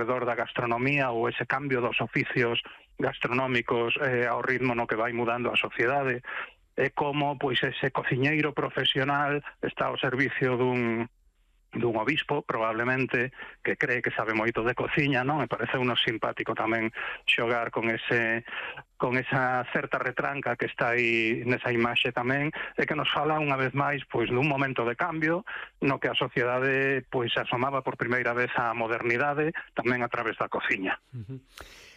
arredor da gastronomía ou ese cambio dos oficios gastronómicos ao ritmo no que vai mudando a sociedade, e como pois ese cociñeiro profesional está ao servicio dun obispo, probablemente, que cree que sabe moito de cociña, non? Me parece unos simpático tamén xogar con esa certa retranca que está aí nesa imaxe tamén, e que nos fala unha vez máis pois dun momento de cambio no que a sociedade pois asomaba por primeira vez á modernidade tamén a través da cociña.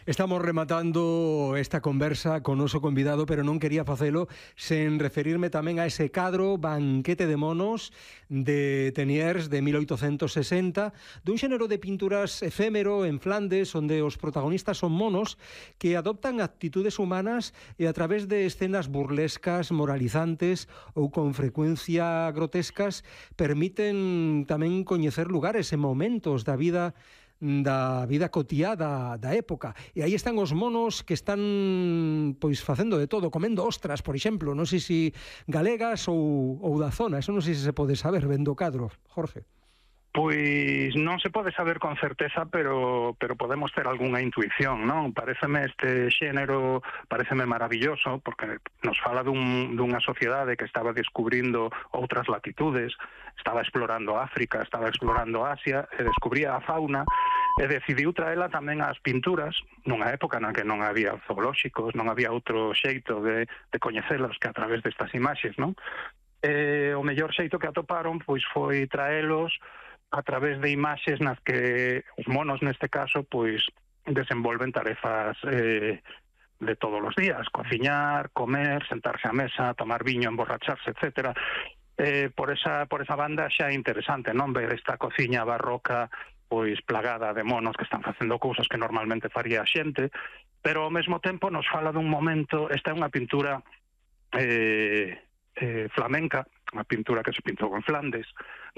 Estamos rematando esta conversa con noso convidado, pero non quería facelo sen referirme tamén a ese cadro Banquete de monos de Teniers de 1860, dun xénero de pinturas efémero en Flandes, onde os protagonistas son monos que adoptan actitudes humanas e a través de escenas burlescas, moralizantes ou con frecuencia grotescas permiten tamén coñecer lugares e momentos da vida cotiá da época. E aí están os monos que están pois facendo de todo, comendo ostras, por exemplo, non sei se galegas ou da zona, eso non sei se pode saber vendo o cadro, Jorge. Pois non se pode saber con certeza, pero podemos ter algunha intuición, non? Pareceme este xénero, pareceme maravilloso, porque nos fala dunha sociedade que estaba descubrindo outras latitudes, estaba explorando África, estaba explorando Asia, e descubría a fauna, e decidiu traela tamén ás pinturas, nunha época na que non había zoolóxicos, non había outro xeito de coñecelos que a través destas imaxes, non? O mellor xeito que atoparon pois foi traelos a través de imaxes nas que os monos, neste caso, pois desenvolven tarefas de todos os días, cociñar, comer, sentarse á mesa, tomar viño, emborracharse, etcétera. Por esa banda xa é interesante, non? Ver esta cociña barroca pois plagada de monos que están facendo cousas que normalmente faría a xente, pero ao mesmo tempo nos fala dun momento, esta é unha pintura flamenca, unha pintura que se pintou en Flandes,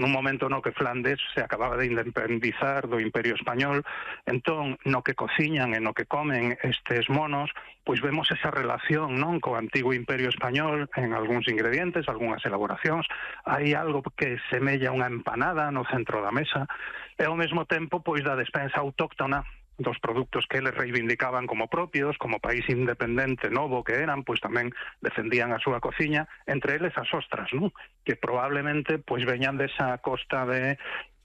nun momento no que Flandes se acababa de independizar do Imperio Español. Entón, no que cociñan e no que comen estes monos, pois vemos esa relación, non, co antigo Imperio Español en algúns ingredientes, algunhas elaboracións. Hai algo que semella unha empanada no centro da mesa, e ao mesmo tempo pois da despensa autóctona dos produtos que eles reivindicaban como propios, como país independente novo que eran, pois tamén defendían a súa cociña, entre eles as ostras, non? Que probablemente pois veñan desa costa de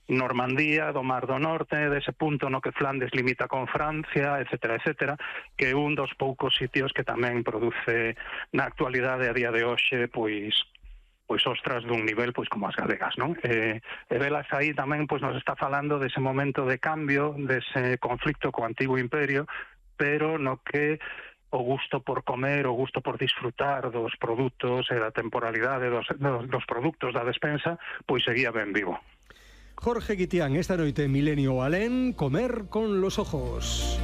Normandía, do Mar do Norte, dese punto no que Flandes limita con Francia, etcétera, etcétera, que é un dos poucos sitios que tamén produce na actualidade a día de hoxe pois ostras dun nivel pois como as galegas, non? E velas aí tamén pois nos está falando dese momento de cambio, dese conflicto co antigo imperio, pero no que o gusto por comer, o gusto por disfrutar dos produtos e da temporalidade dos produtos da despensa, pois seguía ben vivo. Jorge Guitián, esta noite Milenio Alén, Comer con los ojos.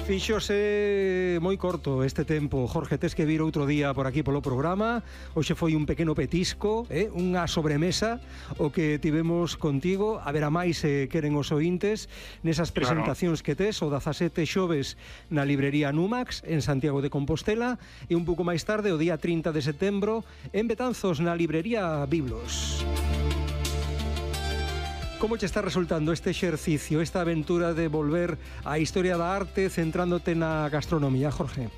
Fíxose moi corto este tempo, Jorge, tes que vir outro día por aquí polo programa. Hoxe foi un pequeno petisco, unha sobremesa o que tivemos contigo. A ver a máis se queren os ointes nesas presentacións que tes o 17 xoves na librería Numax en Santiago de Compostela e un pouco máis tarde, o día 30 de setembro, en Betanzos na librería Biblos. Como che está resultando este exercicio, esta aventura de volver á historia da arte centrándote na gastronomía, Jorge?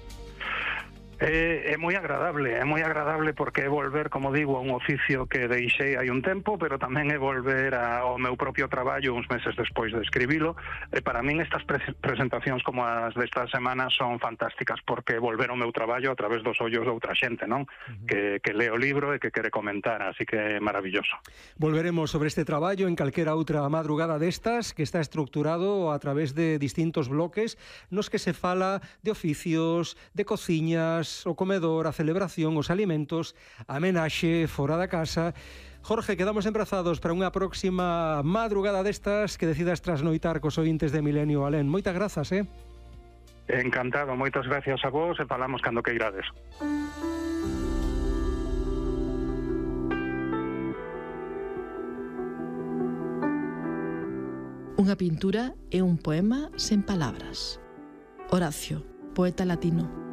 É moi agradable porque é volver, como digo, a un oficio que deixei hai un tempo, pero tamén é volver ao meu propio traballo uns meses despois de escribilo. E para min estas presentacións como as desta semana son fantásticas porque volver ao meu traballo a través dos ollos de outra xente, non? Que lee o libro e que quere comentar, así que é maravilloso. Volveremos sobre este traballo en calquera outra madrugada destas, que está estructurado a través de distintos bloques nos que se fala de oficios, de cociñas, o comedor, a celebración, os alimentos, a homenaxe fora da casa. Jorge, quedamos emprazados para unha próxima madrugada destas que decidas trasnoitar cos ointes de Milenio Alén. Moitas grazas, Encantado, moitas gracias a vos e falamos cando que irades. Unha pintura é un poema sen palabras. Horacio, poeta latino.